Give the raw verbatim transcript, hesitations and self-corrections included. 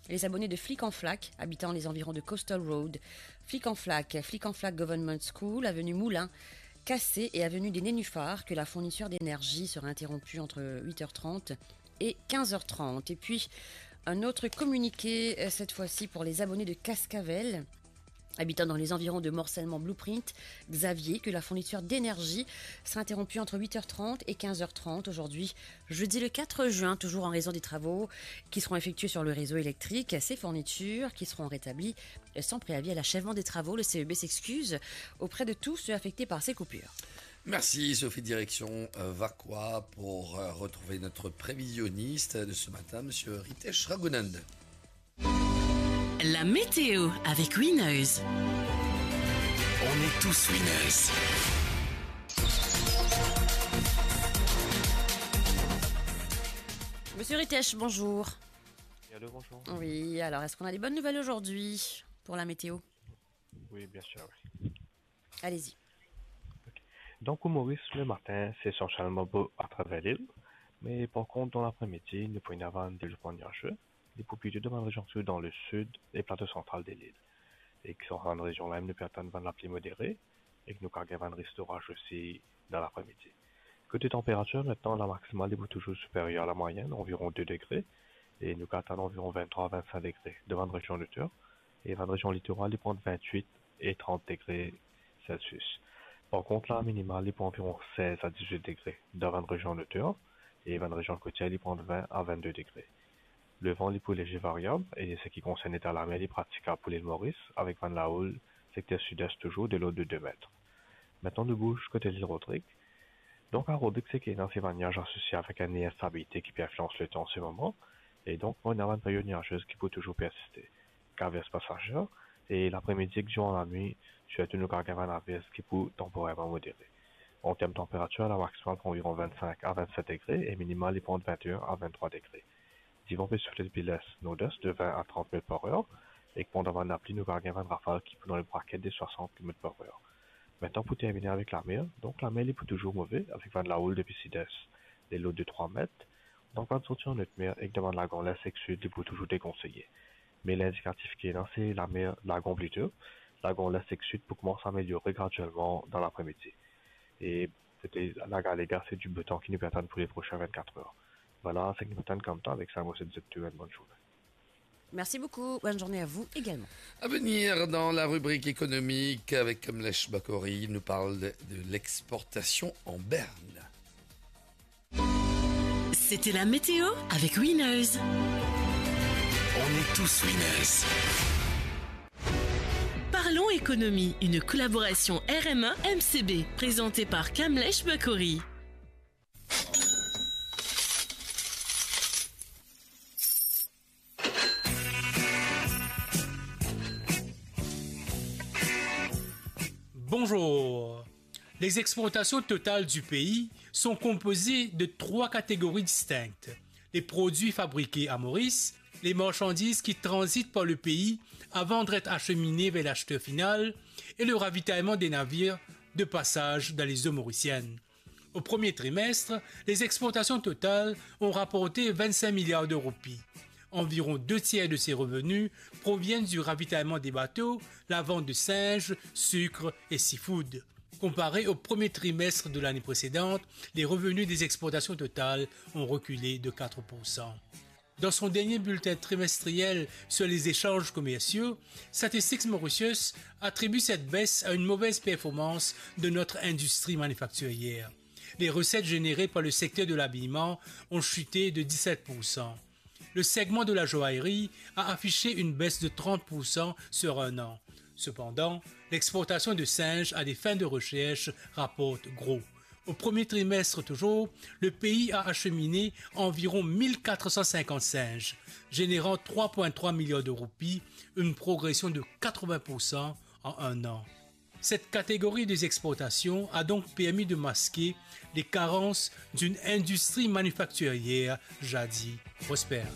Les abonnés de Flic en Flac, habitant les environs de Coastal Road, Flic en Flac, Flic en Flac Government School, avenue Moulin Cassé et avenue des Nénuphars, que la fourniture d'énergie sera interrompue entre huit heures trente et quinze heures trente. Et puis, un autre communiqué, euh, cette fois-ci pour les abonnés de Cascavelle, habitant dans les environs de Morcellement Blueprint, Xavier, que la fourniture d'énergie sera interrompue entre huit heures trente et quinze heures trente aujourd'hui, jeudi le quatre juin, toujours en raison des travaux qui seront effectués sur le réseau électrique. Ces fournitures qui seront rétablies sans préavis à l'achèvement des travaux. Le C E B s'excuse auprès de tous ceux affectés par ces coupures. Merci Sophie, direction euh, Vacoas pour euh, retrouver notre prévisionniste de ce matin, monsieur Ritesh Raghunath. La météo avec Winners. On est tous winners. Monsieur Ritesh, bonjour. Allô, bonjour. Oui, alors, est-ce qu'on a des bonnes nouvelles aujourd'hui pour la météo ? Oui, bien sûr, oui. Allez-y. Ok. Donc, au Maurice, le matin, c'est essentiellement beau à travers l'île, mais par contre, dans l'après-midi, nou pou ena bann deboutman niaze, li pou plito dan bann rezion, sirtou dan le sud e plato santral de lil. E ki sa bann rezion la, nou pe atann bann lapli modere, e ki nou kav gagn bann risk doraz osi dan lapremidi. Kote tanperatir, mintnan, la maksimal, li pou touzour siperyer a la mwayenn, anviron de degre, e nou kav atann anviron venntrwa a vennsink degre dan bann rezion noter, e bann rezion litoral, li pou ant vintwit e trant degre Celsius. Par kont, la minimal, li pou anviron sez a diz-wit degre dan bann rezion noter, e bann rezion kotier, li pou ant vin a vennde degre. Levan, li pou lezie variab, e seki konsern leta lamer, li pratikab pou Lil Moris, avek bann laoul sekter sid-es touzour de lord de de met. Mintnan, nou bouz kote Lil Rodrig. Donk, a Rodrig, seki ena, se bann niaz asosie avek enn instabilite ki pe inflians letan an se moman, e donk, nou ena bann period niazez ki pou touzour persiste. Avers pasazer, e lapremidi ek diran lanwit, sirtou nou kav gagn bann avers ki pou tanporerman modere. An term tanperatir, la maksimal pou anviron vennsink a vennswit degre e minimal li pou ant vinte-e-enn a venntrwa degre. Divan pe soufle depi les, nord-es, de vin a trant met par er, e pandan bann lapli, nou kav gagn bann rafal ki pou dan lebraket de swasant kilomet par er. Mintnan, pou termine avek lamer, donk lamer li pou touzour move, avek bann laoul depi sid-es, de lord de trwa met, donk bann sorti an otmer ek dan bann lagon les ek sid, li pou touzour dekonseye. Me lindikatif ki ena, se lamer lagon plito, lagon les ek sid pou koumans ameliore gradielman dan lapremidi. E kote lagar lega, se dibotan ki nou pe atann pou le prosin vennkat er. Vwala, seki nou pe atann koumsa, avek sa, mo swet zot tou enn bonn zourne. Merci beaucoup. Bonne journée à vous également. À venir dans la rubrique économique avec Kamlesh Bakori, il nous parle de, de l'exportation en berne. C'était la météo avec Winners. On est tous winners. Parlons économie, une collaboration R M A M C B, présentée par Kamlesh Bakori. Bonjour. Les exportations totales du pays sont composées de trois catégories distinctes. Les produits fabriqués à Maurice, les marchandises qui transitent par le pays avant d'être acheminées vers l'acheteur final et le ravitaillement des navires de passage dans les eaux mauriciennes. Au premier trimestre, les exportations totales ont rapporté vingt-cinq milliards de roupies. Environ deux tiers de ces revenus proviennent du ravitaillement des bateaux, la vente de singes, sucre et seafood. Comparé au premier trimestre de l'année précédente, les revenus des exportations totales ont reculé de quatre pour cent. Dans son dernier bulletin trimestriel sur les échanges commerciaux, Statistics Mauritius attribue cette baisse à une mauvaise performance de notre industrie manufacturière. Les recettes générées par le secteur de l'habillement ont chuté de dix-sept pour cent. Le segment de la joaillerie a affiché une baisse de trente pour cent sur un an. Cependant, l'exportation de singes à des fins de recherche rapporte gros. Au premier trimestre toujours, le pays a acheminé environ mille quatre cent cinquante singes, générant trois point trois milliards de roupies, une progression de quatre-vingts pour cent en un an. Cette catégorie des exportations a donc permis de masquer les carences d'une industrie manufacturière jadis prospère.